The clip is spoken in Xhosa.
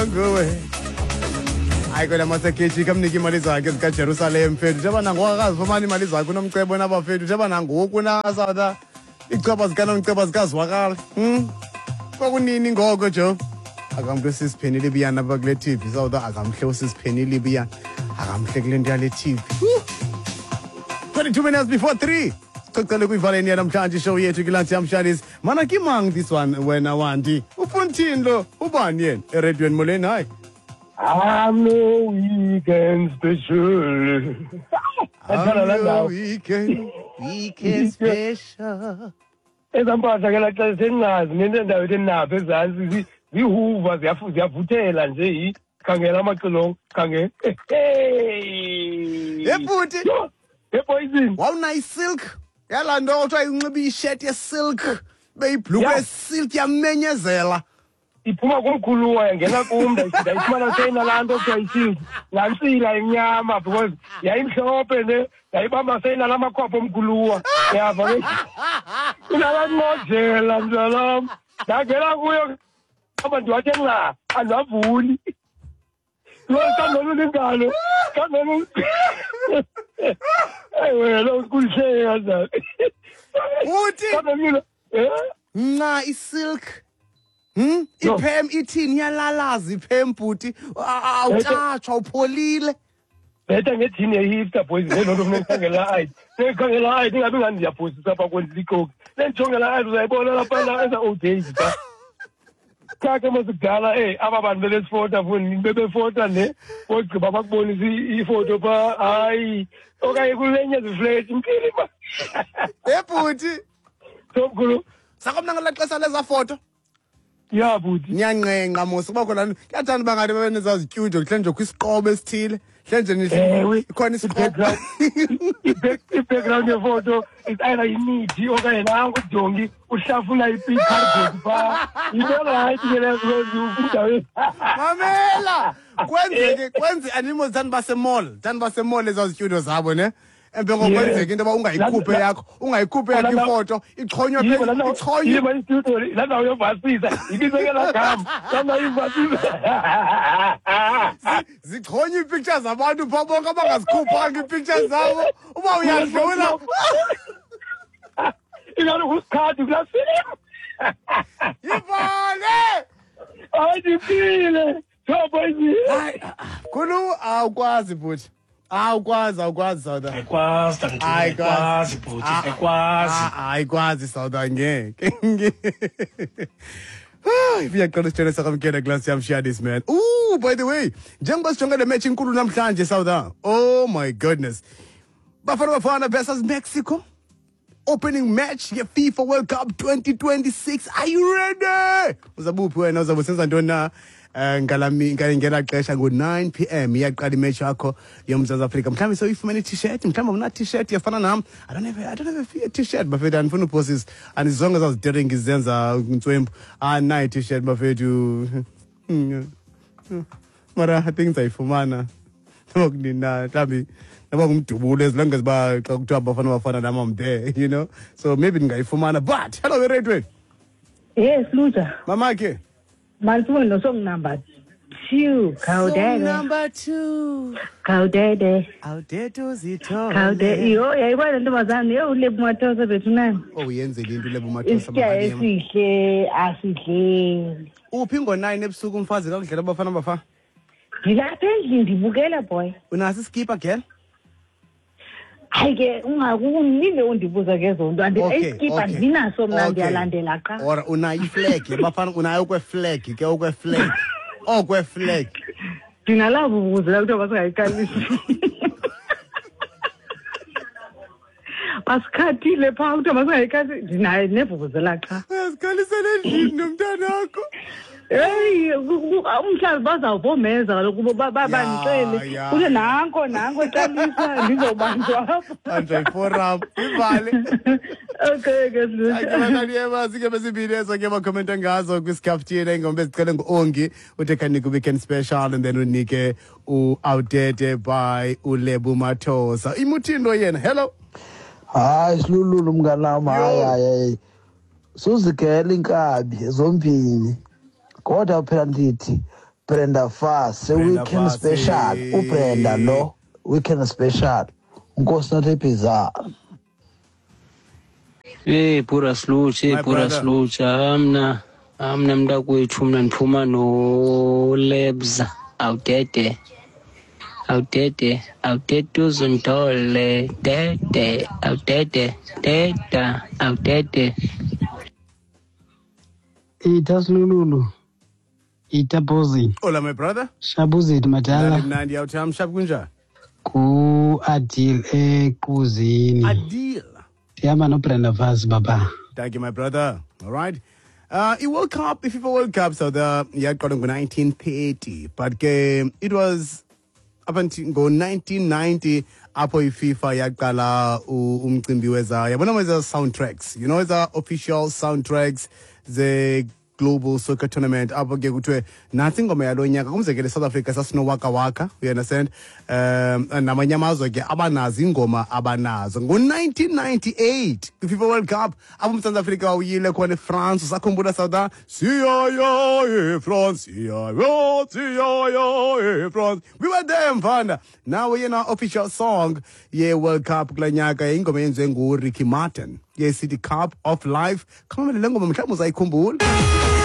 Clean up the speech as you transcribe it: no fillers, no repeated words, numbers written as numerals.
Nguwe. Hayi kwela masekhethi kamnike imali zakhe zikaJerusalem mfethu. Njengoba nangoku akazifumani imali zakhe unomcebo nabafethu. Njengoba nangoku na Iicaba zikanomcebo zikazwakala. Kwakunini ngoko jo? Akamhle usisiphenile ibiyana apha kule TV. South akamhle usisiphenile ibiyana. Akamhle kule nto yale TV. 22 minutes before 3. Sicocele kwivaleni yanamhlanje ishow yethu kilansi yamshanis. Mana ke mang this one wena Wandi? Ufuna uthini lo? Ubani yena? Eredweni molweni hayi. I'm no weekend special. I'm no weekend special. Ezaa mpahla ke laa xesha sendingazi nento endawo ethi ndinapha ezantsi zihuva ziyavuthela nje yi khangela amaxilongo khangela. Hey bhuti. Hey poison. Wawunayo isilk yalaa nto kuthiwa inxiba isheti yesilk beyibhluku yesilk yamenyezela. Iphuma kumkhuluwa yangena kum, ndayifumana seyinalaa nto kuthiwa isilk, laa ntsila imnyama because yayimhlophe ne ndayibamba seyinalaa makhwapha omkhuluwa. Yava ke inalaa nqojela mntanam, ndangena kuyo aba ndiwathe nca andiwavuli. Kangcono ingalo, kangcono. Eyi wena ukuhleka kanjani? Uthi Kangcono, eh? Nca isilk. Iphem ithini iyalalaza iphem bhuti. Awutshatshwa upholile. Betha ngejini yehipster boys lelo nto funeka ayi. Funeka ayi ingabi ngani ndiyaphosisa apha kwenza ixoki. Lendijongela ayi uzayibona lapha eza old days ba. Kake masikudala aba bantu bebesifota foni bebefota ne ogqiba bakubonisa ifoto pha hayi okanye kulenye ziflethi mphili ba. Bhuti. Somkhulu. Sakomna ngelaa xesha lezaa foto. Ya bhuti. Niyanqenqa mos kuba khona kuyathanda uba ngathi babe nezazityudio kuhle nje kwisiqobo esithile. Hle nje Ewe. ikhona isiqobo. I-background yefoto is either imithi okanye nanku udongi uhlafuna i-cardboard phaa. Yinto rayithi ke leyo because kwindawo Mamela! Kwenzeke kwenze animals thanda basemall, thanda basemall ezazityudio zabo ne. Emva koko kwenzeka into yoba ungayikhuphe yakho, ungayikhuphe yakho ifoto, ixhonywe phezulu, ixhonywe. Yiba istudio laa ndawo yovasisa, ibizwe ke laa gama, laa ndawo yovasisa. Zixhonywe iipictures zabantu phaa bonke abangazikhuphanga iipictures zabo, uba uyadlula. Ingathi ngusikhadi kulaa film. Yivale! Hayi, ndiphile. Hayi, khulu awukwazi bhuti. Awukwazi, awukwazi Sauda. Ayikwazi tata, ayikwazi bhuti, ayikwazi. Ayikwazi Sauda ngeke. Iyaqala isitshele sakamkela class yam share this man. Ooh, by the way, njengoba sijonge le match inkulu namhlanje Sauda. Oh my goodness. Bafana Bafana versus Mexico. Opening match ye FIFA World Cup 2026. Are you ready? Uzabuphi wena uzabe usenza ntoni na? Ngela xesha ngo-9 p.m. iyaqala imatch yakho yoMzantsi Afrika. Mhlawumbi sewuyifumene i-t-shirt, mhlawumbi awuna t-shirt yafana nam. I don't have a t-shirt bafethu, andifuni uphosisa. Andizonke ezazideringi zenza ntswempu. Anayo i-t-shirt bafethu. Mara I think ndizayifumana. Noba kunini na, mhlawumbi noba ngumdubulo as long as uba xa kuthiwa Bafana Bafana nam I'm there, you know. So maybe ndingayifumana. But hello eradweni. Yes, Luja. Mamakhe. Mantsuwe no song number 2. Khawudede. Song number 2. Khawudede. Awudede uzithole. Khawudede. Yho, yayibona le ntombazana, yho, uLebo Mathosa bethu nani. Oh, uyenzile into uLebo Mathosa, Isitya Makalima. esihle asidleli. Uphi ngo-9 ebusuku umfazi kakudlela Bafana Bafana? Ndilapha endlini ndibukela boy. Unaso iskipa girl? Hayi ke ungakunini undibuza ke zonto. Iskipa ndinaso mna, ndiyalandela qha. Or unayo iflag, Bafana unayo okwe flag ke okwe flag. Okwe flag. Ndinalapho ukuzela kuthiwa basingayiqalisi. Basikhathile phaa kuthiwa masingayiqalisi. Ndinayo nevuvuzela qha. Uyazikhalisela endlini nomntanakho. Heyi, umhlawumbi bazawuvomeza kaloku bandixele. Kuthe nanko, nanko eqalisa, ndizobanjwa apha. Banjwa yiforum, ivale. Okay, ke Silutsha. Thank you, Natalie Eva. Sike besibili ezo ke bakhomenta ngazo kwisikhafuthini, ingoma ezicele ngu-Ongi, uthe khanike weekend special, and then unike u-Outdate by uLebo Mathosa. Imuthini lo yena? Hello. Hayi, Silululu mnganam, hayi, Yo. hayi, hayi. Suzigela inkabi zombini. Kodwa phela ndithi Brenda Fassie Brenda weekend Fassie. Special, uBrenda lo weekend special. Nkosi nathi ibhiza. Hey pura sluch, hey My pura brother. sluch. Amna amna mntakwethu mna ndiphuma no-Lebs awudede. Awudede, awudede uzundole, dede, awudede, deda, awudede. Ita Silululu, ita Bozi, Hola, my brother. Shabuzit madala Mnandi mnandi awutham shap kunjani? ku-Adil eQuzini. Adil. Ndihamba noBrenda Fassie baba. Thank you, my brother. All right. I-World Cup, i-FIFA World Cup, so the yaqala ngo-1930, but ke it was up until ngo-1990 apho i-FIFA yaqala umcimbi weza, yabona, weza soundtracks, eza official soundtracks ze global soccer tournament, apho ke kuthiwe nantsi ingoma yalo nyaka. Kumzekelo, eSouth Africa sasino-Waka Waka, you understand? Namanye amazwe ke abanazo iingoma abanazo. Ngo-1998 kwi-FIFA World Cup apho uMzantsi Afrika uyile khona eFrance, usakhumbula South? Siyaya eFrance, siyaya, siyaya eFrance. We were there, mfana. Now yena official song ye-World Cup kula nyaka ingoma eyenziwe nguRicky Martin yesithi Cup of Life. Khamamele le ngoma, mhlawumbi uzayikhumbula.